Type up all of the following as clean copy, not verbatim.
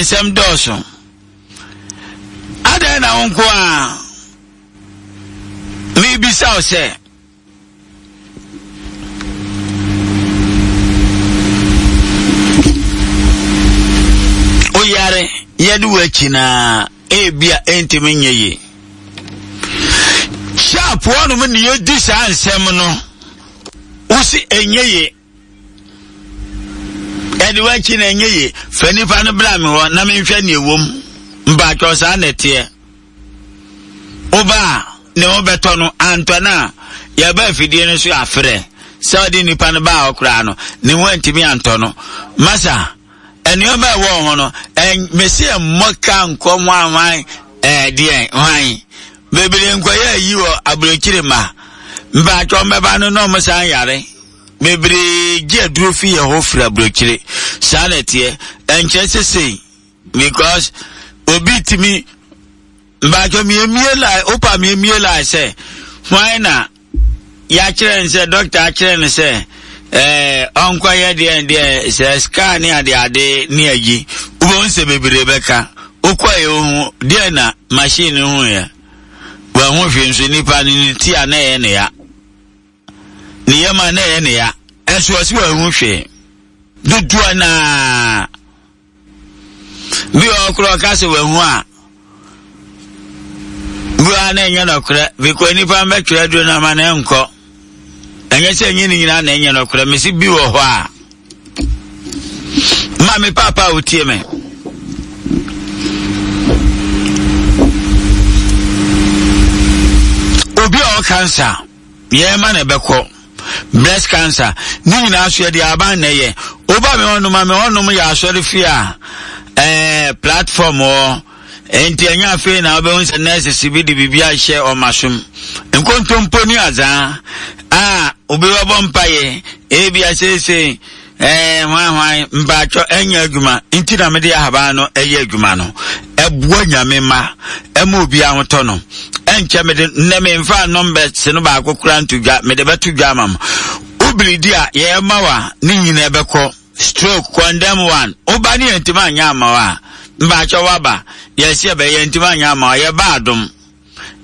Nsɛm dɔɔso. Adɛn na wo nko a mebisa wo sɛ woyare yɛde wo akyi na ebia ɛntumi nyɛ yie. Sharp wɔnom ne yɛdi saa nsɛm no wosi ɛnyɛ yie. Ɛde w'akyi na ɛnyɛ yie. Fa nipa no bra me hɔ na menhwɛ nea ɛwɔ mu. Mpaatwɔ saa na ɛteɛ. Woba a ne ho bɛtɔ no antɔ no a yɛba afidie no so afrɛ sɛ ɔde nipa no baa hɔ koraa no ne ho antumi antɔ no. Masa nneɛma ɛwɔ ho no mesi mmɔ ka nkɔ hwan hwan ɛɛ deɛ hwan bebree nkɔyɛ ayi wɔ aburokyire ma mpaatwɔ mbɛba no na ɔmo san yare. Bebree gye aduro fi yɛn hɔ firi aburokyire. Saa na ɛteɛ. Ɛnkyerɛ sɛ sei because obi tumi mbaatwa miemie line opa miemie line sɛ hwan na yɛakyerɛ no sɛ dɔkta akyerɛ no sɛ ɛɛ ɔnkɔyɛ deɛ deɛ sɛ scan ne ade ade ne ayi wobɛhu sɛ bebree bɛka wokɔɛ ohu deɛ na machine no hu yɛ wɔahu hwee nso nipa no ne ti a na ɛyɛ ne ya. Ne yam a na ɛyɛ ne ya, ɛnso ɔsi wanhu hwee. Dodoɔ naa bi wɔ hɔ koraa ɔka sɛ wahu a bi wɔ ha na ɛnyɛ nɔkorɛ because nipa mbɛtwerɛ aduro no ama no ɛnkɔ. Ɛnyɛ sɛ ɛnyɛ ne nyinaa na ɛnyɛ nɔkorɛ mesi bi wɔ hɔ a ma me paapa a wotie me. Obi a ɔwɔ cancer yɛn ma na ɛbɛkɔ breast cancer ne nyinaa so yɛde aban na ɛyɛ woba me hɔnom a me hɔnom yɛ asɔre fie a ɛɛ platform wɔ nti ɛnyɛ afei na wobɛhu sɛ nurses bi de biribi ahyɛ ɔmasom nkontompo ne azaa a obi bɛbɔ mpaeɛ ebi aseesei Ɛɛ hwan hwan mpaatwɔ ɛnyɛ adwuma nti na mede ahaban no ɛyɛ adwuma no ɛboa nyame ma ɛma obi ahotɔ no ɛnkyɛ mede nnɛ memfa nɔmbɛs no baako kora nto dwa mede bɛto dwa ama mo wobiridi a yɛma wa ne nyina ɛbɛkɔ stroke condemn one woba ne yɛntimi anyɛ ama wa mpaatwɔ waba yɛsi ɛbɛ yɛntimi anyɛ ama wa yɛba adom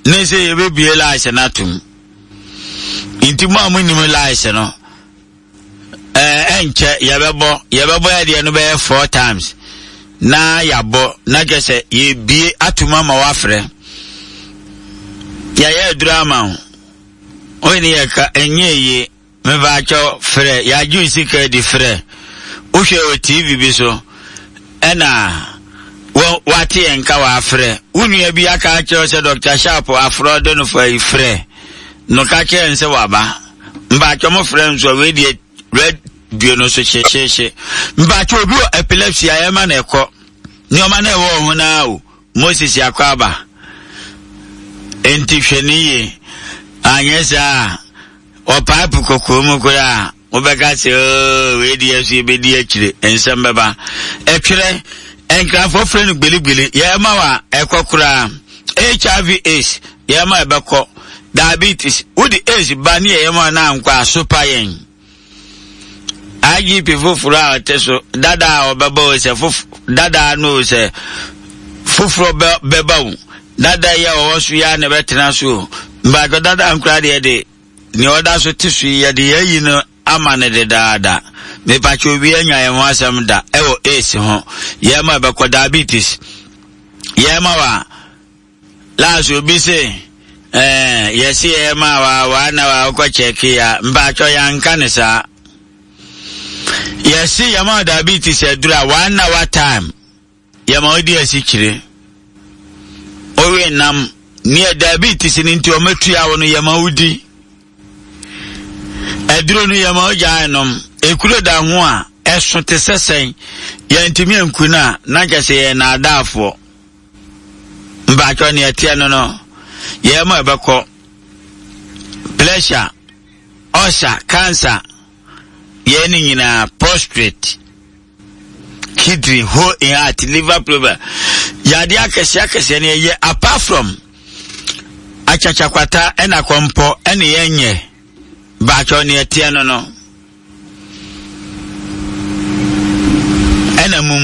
ne sɛ yɛbɛbie laase no atom nti mo a monim laase no ɛɛ ɛnkyɛ yɛbɛbɔ yɛbɛbɔ yɛ deɛ no bɛyɛ four times na yɛabɔ na kyɛ sɛ yɛbie atum ama wafrɛ yɛyɛ aduru ama wo wei ne yɛka ɛnyɛ yie mebaakyɛw frɛ yɛagye sika di frɛ wohwɛ wɔ tv bi so ɛna wate yɛn nka wafrɛ wo nua bi aka akyerɛ sɛ dr sharp afrɛ ɔde no fa yi frɛ no ka kyerɛ n sɛ waba Mpakyɛ mo frɛ nso a wei deɛ radio no so hyehyeehye. Mpakyɛ obi wɔ epilepsy a yɛma no ɛkɔ. Nneɛma no ɛwɔ ho naa o. Moses akɔ aba. Enti hwɛ ne yie. Anyɛ saa a ɔpae po kɔkɔɔ mu koraa wobɛka sɛ oo wei deɛ so yɛbɛdi akyire nsɛm bɛba. Ɛtwerɛ nkrafoɔ frɛ no gbeligbeli yɛma wa ɛkɔ koraa. HIV AIDS yɛma ɛbɛkɔ. Diabetes, wode AIDS ba ne yɛyɛ mu a na ankɔ a, so pa yɛn. IGP foforɔ a ɔte so dada a ɔbɛba o sɛ fof dada no o sɛ foforɔ bɛ bɛba o dada yi a ɔwɔ so yi a na ɛbɛtena so o mbaatɔ dada nkora deɛ de nea ɔda so te so yi yɛde yɛayi no ama no dedaada mepakyɛ obi anya yɛn ho asɛm da ɛwɔ AIDS ho yɛn ma ɛbɛkɔ diabetes yɛn ma wa Last obi se eh, yɛse yɛyɛ maa wa wa na wa wokɔ kyɛke ya mpaatwɔ yɛanka ne saa yɛse yɛma diabetes aduru a one hour time yɛma wodi asikyire wowe nam neɛ diabetes no nti ɔmatua wo no yɛma wodi aduro no yɛma wogyae nom ekuro da ho a ɛso te sɛ sɛn yɛntumi anku no a na kyɛ sɛ yɛyɛ naadaafoɔ Mpakyɛw nea ɛteɛ no no, yɛn mu a ɛbɛkɔ pressure, ulcer, cancer, yɛn ne nyinaa prostrate, kidney, hole in heart, liver problem, yadeɛ akɛseɛ akɛseɛ no yɛyɛ apart from akyakyakwata ɛna kɔmpɔ ɛne yɛnyɛ mpakyɛw nea ɛteɛ no no ɛna mumu.